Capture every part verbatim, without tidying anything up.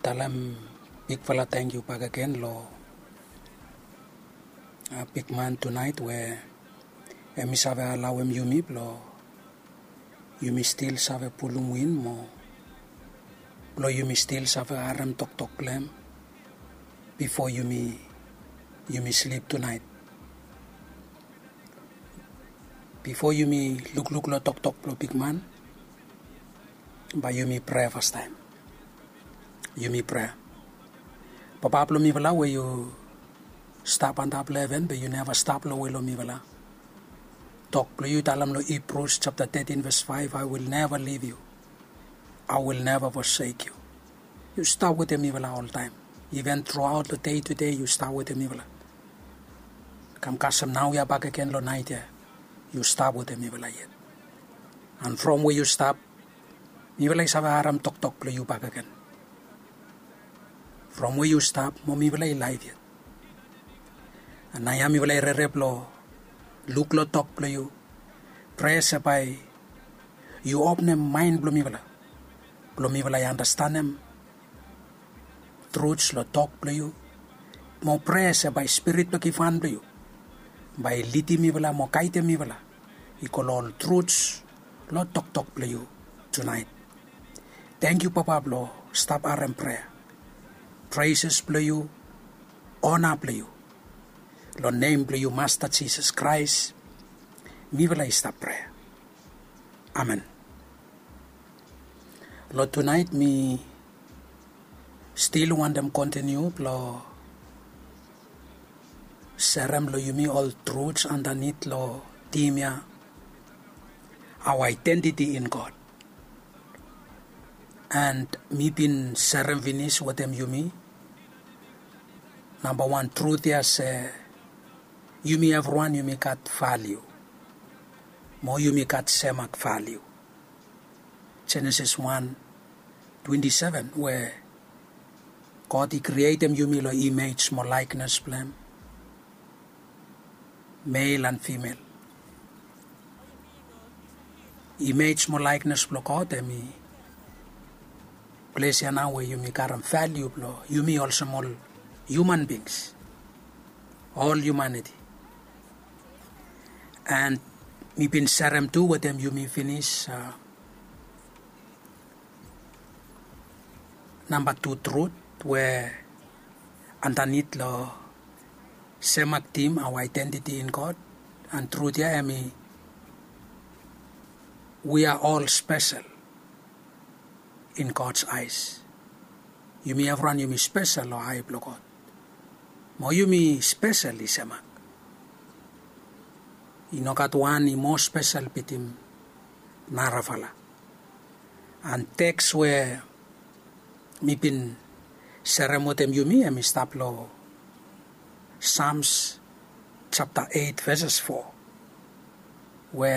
Talem bigfala tangkiu bakegen long bigman tunaet we em i save alaoem yumi blong yumi stil save pulum win mo blong yumi stil save harem toktok blong em bifo yumi yumi slip tunaet. Bifo yumi lukluk long toktok blong bigman, bae yumi prea fastaem. Yumi prea. Papa blong mifala we yu stap antap long heven be yu neva stap long we long mifala. Tok blong yu talem long Hibrus japta tetin ves faef, "I will never leave you. I will never forsake you." Yu stap wetem mifala oltaem. Iven truaot long dei tude yu stap wetem mifala. Kam kasem naoia bakegen long naet ya, yu stap wetem mifala yet. An from we yu stap, mifala i save harem toktok blong yu bakegen. From we yu stap mo mifala i laef yet. An naoia mifala i rere blong luk long tok blong yu. Prea se bae yu openem maen blong mifala blong mifala i anastenem truts long tok blong yu. Mo prea se bae Spirit blong givhan blong yu bae i lidim mifala mo gaedem mifala i go long ol truts long toktok blong yu tunaet. Tangkiu Papa blong stap harem prea, preses blong yu, ona blong yu. Long nem blong yu Masta Jisas Kraes mifala i stap prea. Amen. Long tunaet mi stil wantem kontiniu blong serem long yumi ol truts andanit long tim ya, our identity in God. And mi bin serem finis wetem yumi namba wan trut ya se yumi evriwan yumi gat valiu mo yumi gat semak valiu. Jenesis wan twenti seven we God i krietem yumi long imej mo laeknes blong em, mel an fimel. Imej mo laeknes blong God em i ples ya nao we yumi karem valiu blong yumi olsem ol hiuman bings, ol hiumaniti. And mi bin serem tu wetem yumi finis namba tu trut we andanit long semak tim, our identity in God. And trut ya em i we are all special in God's eyes. Yumi evriwan yumi spesel long ae blong God. Mo yumi spesel i semak. I no gat wan i moa spesel bitim narafala. An teks we mi bin serem wetem yumi em i stap long Sams japta eit veses fo we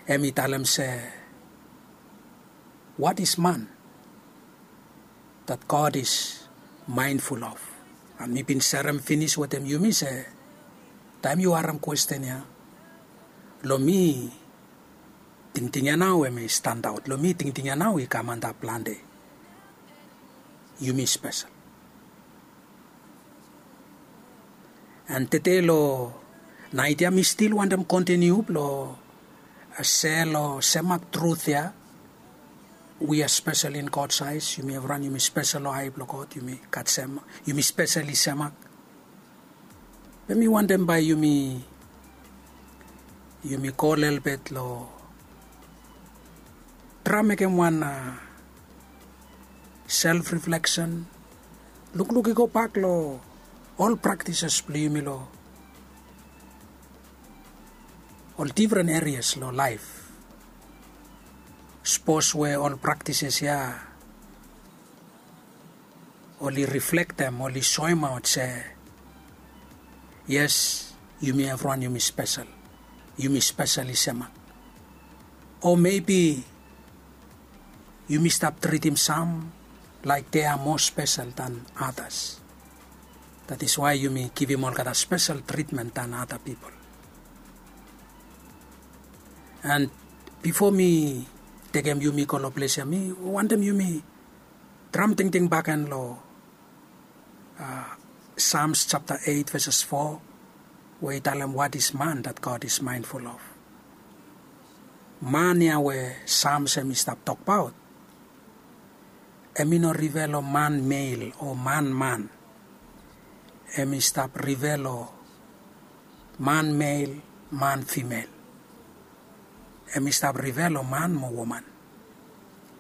em i talem se, what is man that God is mindful of? An mi bin serem finis wetem yumi se taem yu harem kwesten ya, long mi tingting ya nao em i standaot, long mi tingting ya nao i kam antap plante. Yumi spesel. And tede long naet ya mi stil wantem kontiniu blong sel o semak trut ya. We are special in God's eyes. Yumi evriwan yumi spesel long ae blong God. Yumi gat sem, yumi spesel i semak. Be mi wantem bae yumi yumi go lelebet long traem mekem wan self refleksen. Lukluk i gobak long ol praktises blong yumi long ol difren erias long laef. Sapos we ol praktises ya oli riflektem, oli soemaot se yes, yumi evriwan yumi spesel. Yumi spesel i semak. O mebi yumi stap tritim sam laek dea moa spesel dan atas. That is why yumi givim olgeta spesel tritmen dan ata pipol. And bifo mi tekem yumi go long ples ya mi wantem yumi Traem tingting bakegen long Sams japta eit veses fo, we i talem, what is man that God is mindful of? Man ya we Sams hem i stap tokbaot, hem i no rive long man mel o man man. Hem i stap rive long man mel, man fimel. Hem i stap rive long man mo woman.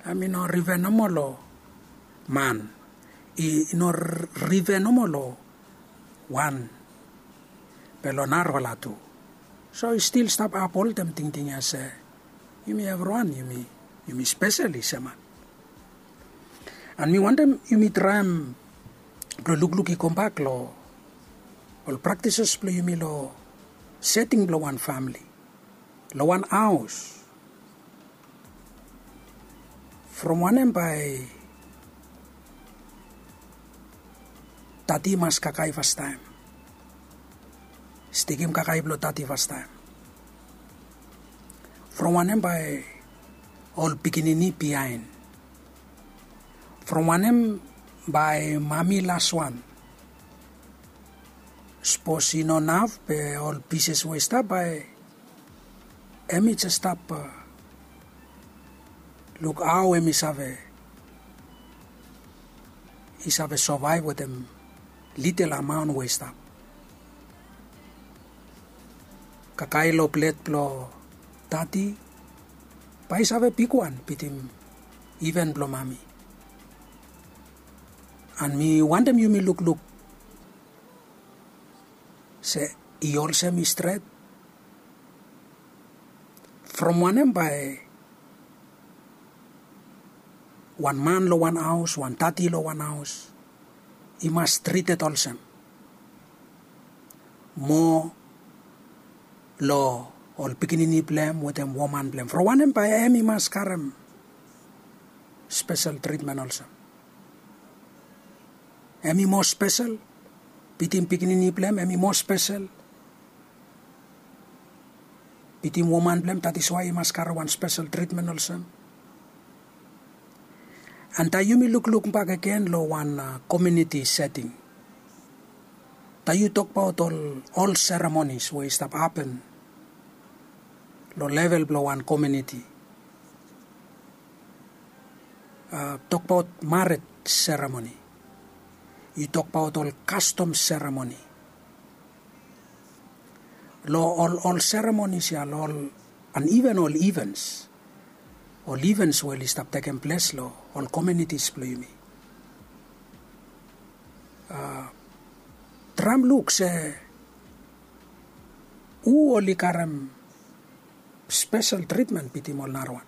Hem i no rive nomo long man, i no rive nomo long wan, be long narafala tu. So i stil stap apholtem tingting ya se yumi evriwan yumi spesel i seman. An mi wantem yumi traem blong lukluk i kambak long ol praktises blong yumi long seting blong wan famili, long wan haos. From wanem bae tati i mas kakae fastaem? Stikim kakae blong tati fastaem. From wanem bae ol pikinini biaen? From wanem bae mami laswan? Sapos i no naf be ol pises we i stap bae hem i jes stap luk hao hem i save i save sovaev wetem litel amaon we i stap. Kakae long plet blong tati bae i save bigwan bitim iven blong mami. An mi wantem yumi lukluk se i olsem i stret? From wanem bae wan man long wan haos, wan tati long wan haos i mas trited olsem mo long ol pikinini blong hem wetem woman blong hem? From wanem bae hem i mas karem spesel tritmen olsem? Hem i moa spesel bitim pikinini blong hem? Hem i moa spesel bitim woman blong hem, that is why i mas karem wan spesel tritmen olsem? An taem yumi lukluk bakegen long wan komiuniti seting, taem yu tokbaot ol seremonis we i stap hapen long level blong wan komiuniti, tokbaot maret seremoni, yu tokbaot ol kastom seremoni, long ol seremonis ya, long ol an iven ol ivens ol ivens we oli stap tekem ples long ol komiunitis blong yumi. Traem luk se hu oli karem spesel tritmen bitim ol narawan.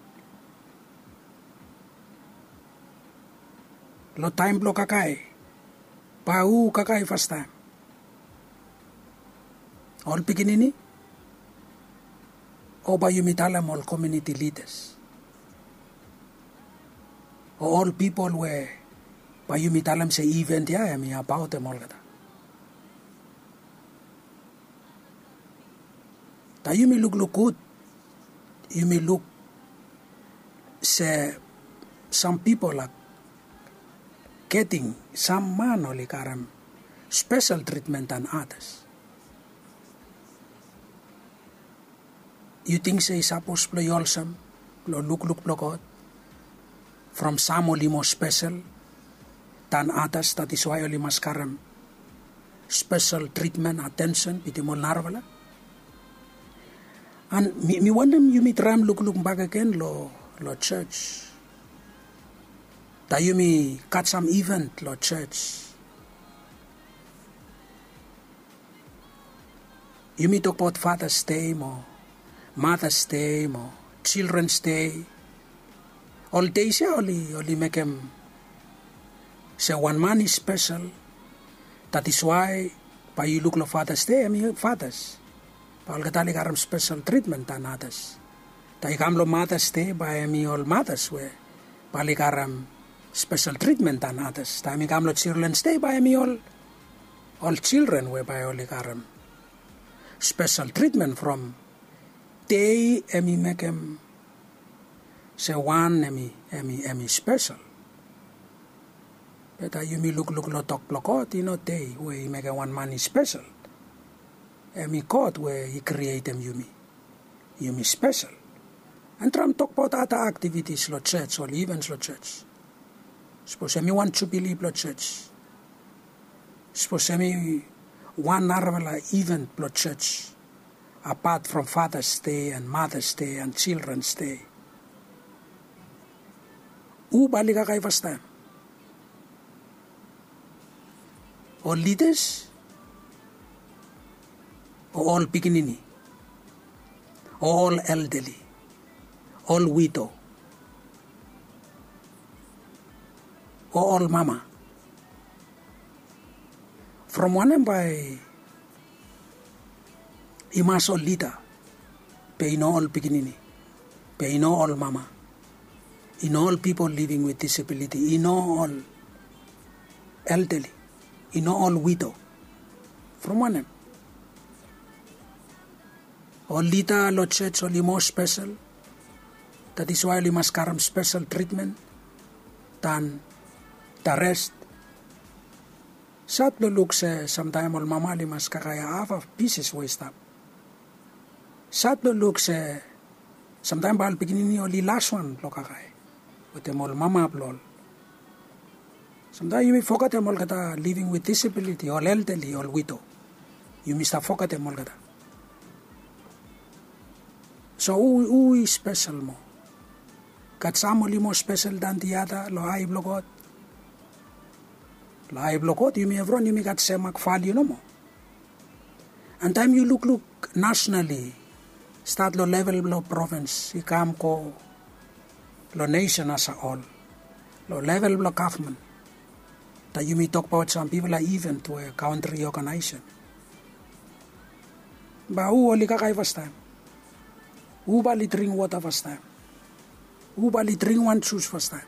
Long taem blong kakae, bae hu kakae fastaem? Ol pikinini? O bae yumi talem ol komiuniti lidas o ol pipol we bae yumi talem se iven ya hem i abaotem olgeta? Taem yumi lukluk gud, yumi luk se sam pipol a geting, sam man oli karem spesel tritmen dan atas. Yu ting se i sapos blong i olsem long lukluk blong God? From sam oli moa spesel dan atas, that is why oli mas karem spesel tritmen, atensen bitim ol narafala. An mi wantem yumi traem lukluk bakegen long jos. Taem yumi gat sam iven long jos, yumi tokbaot Fathers Day mo Mothers Day mo Children's Day. Ol deis ya oli mekem se wan man i spesel. That is why bae yu luk long Fathers Day hem i fathers, bae olgeta oli karem spesel tritmen dan atas. Taem i kam long Mothers Day bae hem i ol matas we bae oli karem spesel tritmen dan atas. Taem i kam long Children's Day bae hem i ol children we bae oli karem spesel tritmen. From dei hem i mekem se wan hem i spesel. Be taem yumi lukluk long tok blong God, i no de we i mekem wan man i spesel. Hem i God we i krietem yumi. Yumi spesel. Hem traem tokbaot ada aktivitis long jos o ivens long jos. Sapos hem i wan jubili blong jos, sapos hem i wan narafala iven blong jos, apat from Fathers' Day and Mothers' Day and Children's Day, hu bae oli kakae fastaem? Ol lidas, o ol pikinini, o ol eldeli, ol wido, o ol mama? From wanem bae i mas ol lida, be i no ol pikinini, be i no ol mama, i no ol pipol living with disability, i no ol eldeli, i no ol wido? From wanem? Ol lida long jos oli moa spesel. That is why oli mas karem spesel tritmen dan da res. Sad blong luk se samtaem ol mama oli mas kakae haf a pises we i stap. Sad blong luk se samtaem bae ol pikinini oli laswan blong kakae wetem ol mama blong ol. Samtaem yumi fogetem olgeta living with disability, ol eldeli, ol wido. Yumi stap fogetem olgeta. So hu, hu i spesel moa? Gat sam oli moa spesel dan the other long ae blong God? Long ae blong God yumi evriwan yumi gat semak valiu nomo. And taem yu lukluk nasenali, stat long level blong provins i kam go long nesen as a hol, long level blong gavman, taem yumi tokbaot sam bigfala iven we kantri i oganaesem, bae hu oli kakae fastaem? Hu bae oli dring wota fastaem? Hu bae oli dring wan jus fastaem?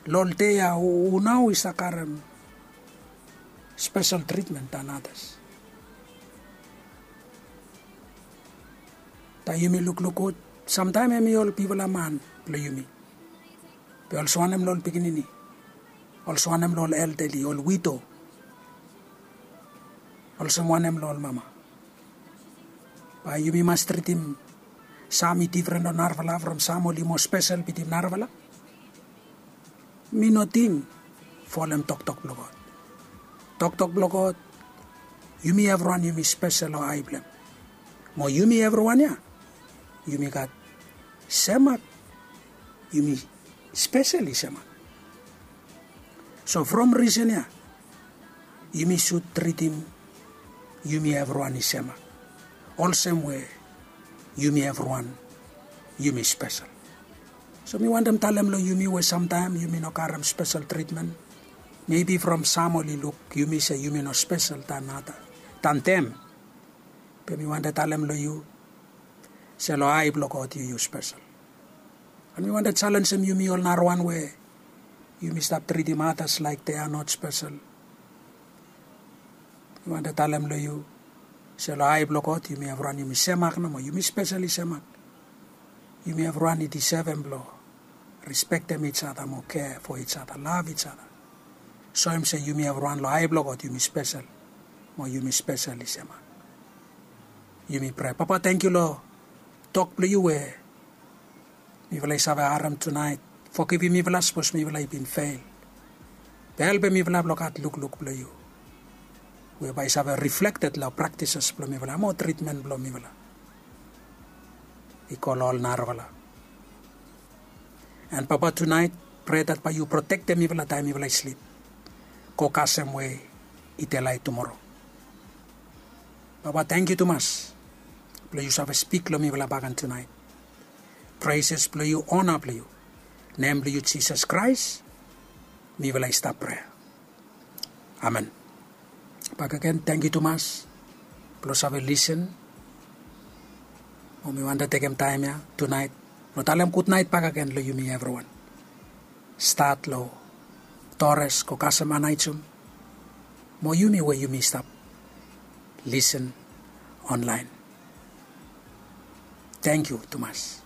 Long ol dei ya hu nao i save karem spesel tritmen dan adas? Taem yumi lukluk gud, samtaem hem i ol bigfala man blong yumi, be olsem wanem long ol pikinini, olsem wanem long ol eldeli, ol wido, olsem wanem long ol mama? Bae yumi mas tritim sam i difren long narafala from sam oli moa spesel bitim narafala? Mi no ting folem toktok blong God. Toktok blong God, yumi evriwan yumi spesel long ae blong hem. Mo yumi evriwan ya yumi gat semak. Yumi spesel i semak. So from risen ya yumi sud tritim yumi evriwan i semak, olsem we yumi evriwan yumi spesel. So mi wantem talem long yumi we samtaem yumi no karem spesel tritmen. Mebi from sam oli luk yumi se yumi no spesel dan ada, dan dem. Be mi wantem talem long yu se long ae blong God yu yu spesel. And mi wantem jalenjem yumi ol narawan we yumi stap tritim adas laek they are not spesel. Mi wantem talem long yu se long ae blong God yumi evriwan yumi semak nomo, yumi spesel i semak. Yumi evriwan i disevem blong respektem each other mo kea fo each other, lav each other. Soem se yumi evriwan long ae blong God yumi spesel, mo yumi spesel i semak. Yumi prea. Papa, tangkiu long tok blong yu we mifala i save harem tunaet. Fogivim mifala sapos mifala i bin fel. Be helpem mifala blong gat lukluk blong yu we bae i save riflekted long praktises blong mifala mo tritmen blong mifala i go long ol narafala. And Papa, tunaet prea dat bae yu protektem mifala taem mifala i slip, go kasem we i delaet tumoro. Papa, tangkiu tumas blong yu save spik long mifala bakegen tunaet. Preses blong yu, ona blong yu, nem blong yu Jisas Kraes mifala i stap prea. Amen. Bakegen tangkiu tumas blong save lisen. Mo mi wantem tekem taem ya tunaet blong talem gudnaet bakegen long yumi evriwan, stat long Dores go kasem Anaejum, mo yumi we yumi stap lisen onlaen. Tangkiu tumas.